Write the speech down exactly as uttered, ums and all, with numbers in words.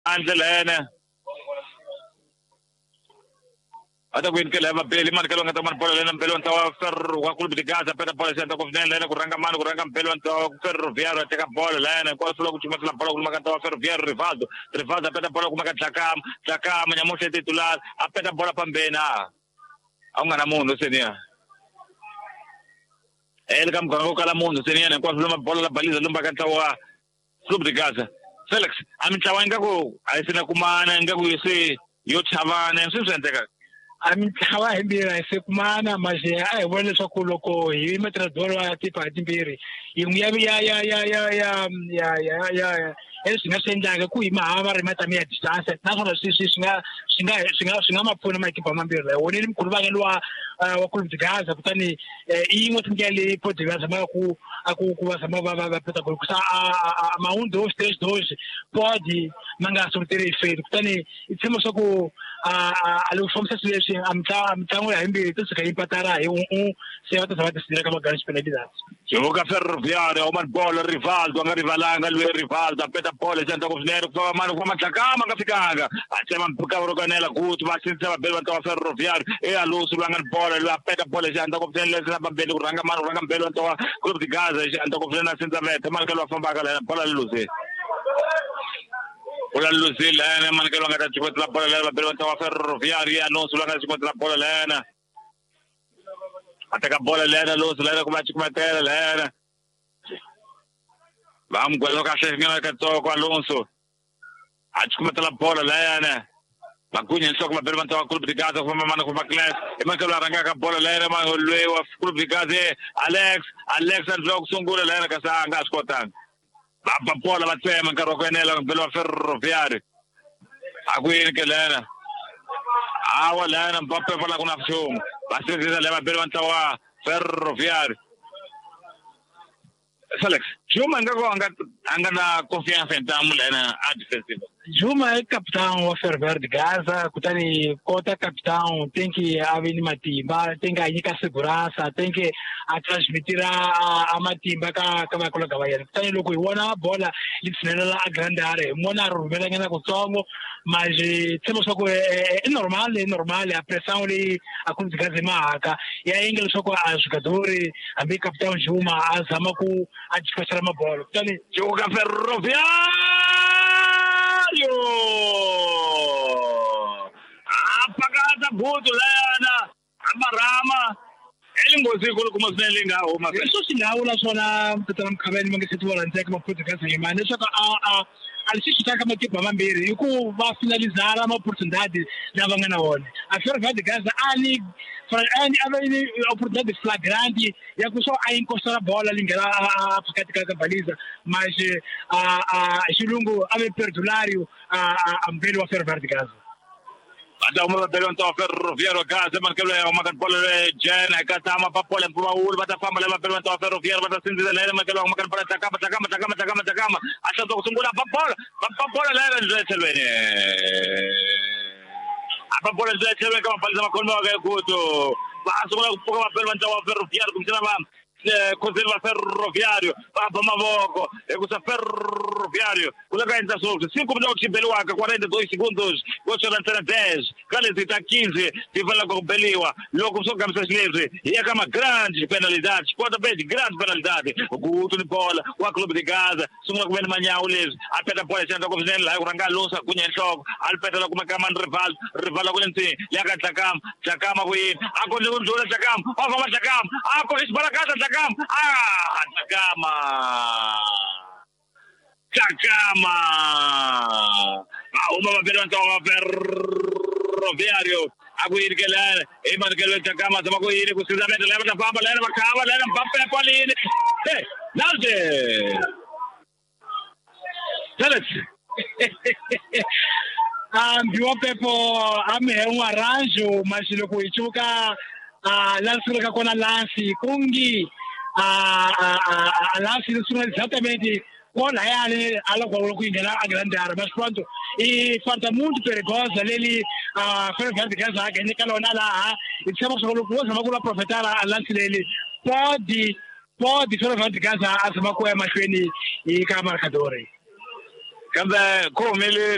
Handle lene ata ku inkela mabeli mani kalonga ta mani bola lena mbelo ntawa ferro wa Clube de Gaza peta bola xenta ku vinene lena ku ranga mani ku ranga mbelo ntawa Ferroviário teka bola lena kwa sula ku chumatela bola ku maka ntawa Ferroviário Rivaldo Rivaldo peta bola ku maka Tlakama Tlakama nyamuhle titular a peta bola pambena a nga na munhu seniya ele ka muganga kala munhu seniya kwa sula bola la baliza lumba ka ntawa Clube de Gaza Felix a mintlawa ingaku a yi sina kumana ingaku se yo chavana swi swi endleka a mintlawa himbirhi a yi se kumana mas a hi vona leswaku loko hi matrador ya tipa timbirhi yin'we ya ya ya ya ya ya ya ya ya leswi nga swi endlaka ku hi mahava ri matami ya distance naswona swi swi swi nga swi nga swi nga swi nga ma pfuna makipa mambirhi lawa wonile mkhulu wa wa Clube de Gaza kutani i yin'we tindlela leyi Podi va zamaka ku a ku ku va zama va va va peta gol kusa a ma um dois três dois pode ma nga sortir efeito kutani i tshemba swa ku a a loko fambisa swilo leswi a mitlangu mitlangu ya himbirhi to suka yi mpatara hi un un se va ta zama ti ka magana penalidades Joga Ferroviário uma bola Rivaldo a nga rivalanga lwe Rivaldo a peta bola xanta ku swinene ku famba mani ku famba Tlakama nga fikanga a tsema mpfhuka ro kanela kuti va sindzisa vabeli va ntawa Ferroviário e Alonso lwa nga ni bola lwa peta bola xanta ku swinene leswi na vabeli ku ranga mani ku ranga mbeli wa ntawa Clube de Gaza xanta ku swinene a sindza vete mani ka lwa fambaka lena bola lose bola lose lena mani ka lwa nga ta chikotela bola lena vabeli va ntawa Ferroviário Alonso lwa nga chikotela bola lena a teka bola lena Alonso lena ku va chikumatela lena va mugwelo kahle nyana katsongo Alonso a chikumatela bola lena Magunya nhloko vabeli va ntawa Clube de Gaza ku famba mani ku famba Class i mani loyi a rhangaka bola lena loyi wa Clube de Gaza Alex Alex a ndliwa ku sungula lena kasi a nga swi kotanga va ba bola va tsema nkarhi wa ku enela mbeli wa Ferroviário a ku yini ke lena awa lena Mbappe va la ku na nchumu va sindzisa le vabeli va ntlawa Ferroviário Felix Juma nga ko anga anga na confiança ntamu lena a defensive Juma i capitão wa Ferroviário de Gaza kutani kota capitão tem que a vi ni matimba tem que a nyika segurança tem que a transmitira a, a matimba ka ka vakologa va yena kutani loko hi vona bola yi tshinelela a grande area hi vona a rhumela nyana kutsongo mas tshemba swa ku i normal i normal a pressão leyi a Clube de Gaza mahaka ya endla leswaku a jogador hambi capitão Juma a zama ku a despachar mabola kutani Joga Ferroviário apakata butu lena amarama elinghozi kulukumba swinene leyi nga huma leswo swi nga vula swona tatana Mkhaveni ma nge se ti vona ntsena Maputo Gaza yimani leswaku a a a lexi xi taka matimba mambirhi i ku va finalizara ma-oportunidade lava nga na wona a Ferroviário de Gaza a ni a ni a va ni oportunidade flagrante ya ku swo a encostar bola li nghena a phakathi ka ka baliza mas a a xilungu a ve perdulário a a mbeli wa Ferroviário de Gaza va ta huma vabeli va ntawa Ferroviário Gaza mani loyi a humaka bola leyi jena eka tama va bola mpfumawulo va ta famba leyi vabeli va ntawa Ferroviário va ta sindzisa lena mani loyi a humaka bola Tlakama Tlakama Tlakama Tlakama Tlakama a hlantswa ku sungula ba bola va ba bola lena ndlela tlhelweni a ba bola ndlela tlhelweni ka mabaliza makhomiwaka ekuto va sungula ku pfuka vabeli va ntlawa wa Ferroviário kumbexana va Conselho va Ferroviário va ba mavoko hikusa Ferroviário ku le ka endla swoswi cinco minutos beliwaka quarenta e dois segundos go sora ntsena dez ka leti ta quinze ti fanelaka ku beliwa loko swo gambisa xileswi hi ya ka ma grande penalidade pontapé de grande penalidade Guto ni bola wa Clube de Gaza sungula ku ve ni manyawu leswi a peta bola xi endla ku swinene laha ku rhanga Alonso a gunya nhloko a li petela kuma ka mani Rivaldo Rivaldo ku le ntsini ya ka Tlakama Tlakama ku yini a kondle ku ndlula Tlakama wa famba Tlakama a ko xibalakata Tlakama ah Tlakama Tlakama va huma vabeli va ntlawa wa Ferroviário a ku yini ke lena i mani ke loyi Tlakama zama ku yini ku sindza vete lena va ta famba lena va khava lena Mbappe kwalini hey Nalde Felix a mbiwa Pepo a mi he un arranjo mas loko hi cuka a la sungulaka kona lansi kungi a a a lansi ri sungula exatamente kolhayani a loko loko yi nghena a grande área mas pronto e falta muito perigosa leli a Ferroviário de Gaza a ganha lona laha hi tshemba swa loko wo zama ku la profetar a lansi leli pode pode Ferroviário de Gaza a zama ku ya mahlweni hi ka marcador kambe ku humele